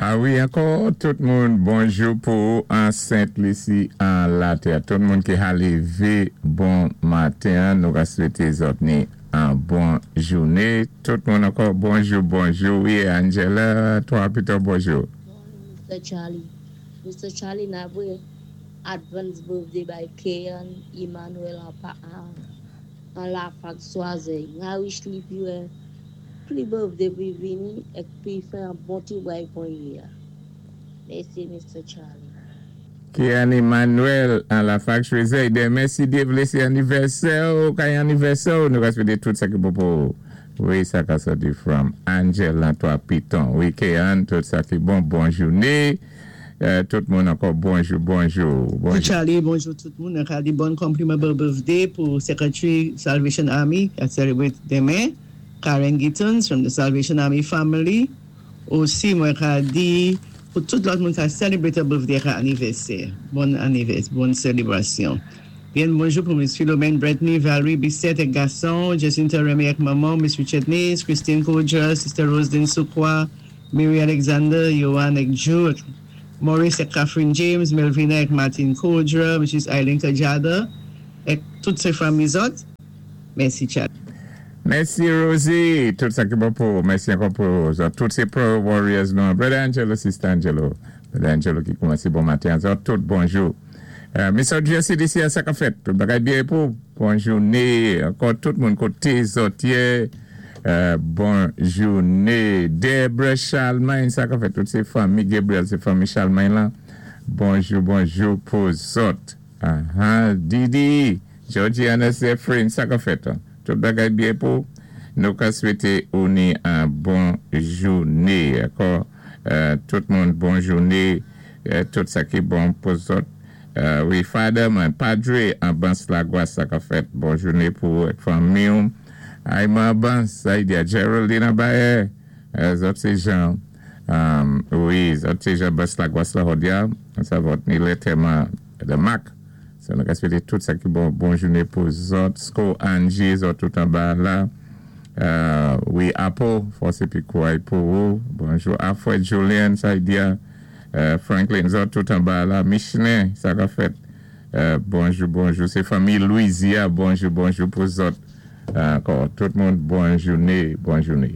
A wi, ankò tout moun bonjou pou an Sent Lisi an latè. Tout moun ki ka lévé bon maten, nou ka swété zòt ni an bon jouné. Tout moun ankò bonjou, bonjou. Wi, Angela, 3 Piton, bonjou. Morning, Mr. Charlie. Mr. Charlie, n ap voyé advance birthday bay Kean Emmanuel an pa an, an la fak Swazey. Nga wish li pi wè pli birthday pi vini ek pi fè an bon ti bway kon yi a. Mèsi, Mr. Charlie. Kean Emmanuel an la fak Choisey. Denmen si Dye vlé sé anivèsè ou, kay anivèsè ou, nou ka swété tout sa ki bon pou ou. Wi, sa ka sòti from Angela 3 Piton. Wi, Kean, tout sa ki bon, bon jouné. Tout moun ankò bonjou, bonjou, bonjou. Charlie, bonjou tout moun. Mwen ka di bon konpliman birthday pou Secretary Salvation Army ki ap celebrate denmen, Karen Gittens from the Salvation Army family. Osi mwen ka di pou tout lòt moun ka celebrate birthday ka anivèsè. Bon anivèsè, bon selebrasyon. Byen bonjou pou Miss Philomene Bretney, Valerie Bissett ek gason, Jacinta Remy ek manman, Miss Richard Nice, Christine Kodja, Sister Roseline Soukwa, Mary Alexander, Johan ek Jude, Maurice ek Catherine James, Melvina ek Martin Kodra, Mrs. Eileen Kajada, ek tout sé fanmi zòt. Mèsi Charlie. Mèsi Rosie, tout sa ki bon pou ou. Mèsi ankò pou zòt. Tout sé Prayer Warriors nou. Brother Angelo, Sister Angelo. Brother Angelo ki koumansé bon maten an. Zòt tout bonjou. Miss Audrey CDC a sa k ap fèt? Tout bagay byen pou ou? Bon jouné ankò tout moun koté zòt yé. Bon jouné Debra Charlemagne sa k ap fèt? Tout sé fanmi Gabriel sé fanmi Charlemagne lan. Bonjou bonjou pou zòt. Aha Didi Georgiana Zephyrin sa k ap fèt? Tout bagay byen pou ou? Nou ka swété ou ni an bon jouné ankò tout moun bon jouné. Tout sa ki bon pou zòt. Wi Father mwen Padre Anbans Lagwas sa kap fèt bon joune pou ou ak fanmi w Ayman Anbans Zaidia Geraldine Anbayè zòt se jan wi zòt se jan Anbans Lagwas la hòdya sa vòt ni lè tèman de mak sa nou ka swete tout sa ki bon bon joune pou zòt Sko Angie zòt tout anba la wi Apo fòs epi kouray pou ou bonjou Afwèt Julian Zaidia. Franklin zòt tout anba la Michelin sa kap fèt bonjou bonjou se fanmi Louisia bonjou bonjou pou zòt ankò tout moun bon joune bon joune.